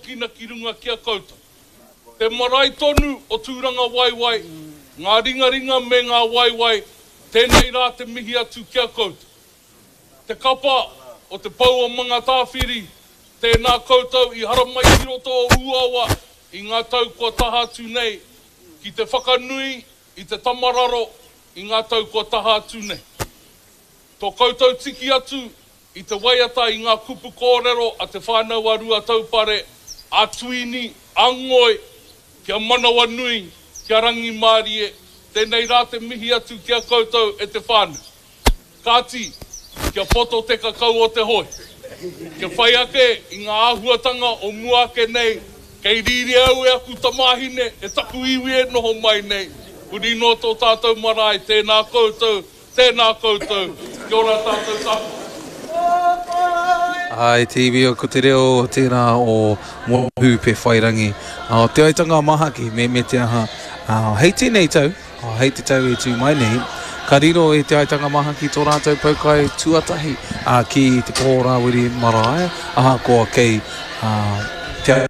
Kina ki runga ki a koutou. Te marae tonu o Tūrangawaewae, ngā ringaringa me ngā waewae, tēnei rā te mihi atu ki a koutou. Te kapa o Te Pou o Mangatāwhiri, tēnā koutou i haramai ki roto o Ūawa i ngā tau kua taha atu nei, ki te whakanui i te tamararo i ngā tau kua taha atu nei. Tō koutou tiki atu i te waiata i ngā kupu kōrero a Te Whānau a Ruataupare, a Tuini, a Ngoi, kia manawanui, kia rangimārie, tēnei rā te mihi atu ki a koutou e te whānau. Kāti, kia poto te kakau o te hoe. Kia whai ake i ngā āhuatanga o mua ake nei, kei rīria au e aku tamāhine, e taku iwi e noho mai nei, huri noa tō tātou marae, tēnā koutou, Tēnā koutou, kia ora tātou katoa. Āe te iwi o ko te reo tērā o Mohi Pewhairangi. Te aitanga a Mahaki me me te aha. Hei tēnei tau, hei te tau e tū mai nei, ka riro e Te Aitanga Mahaki tō rātou poukai tuatahi ki Te Poho Rāwiri Marae, ahakoa kei Te.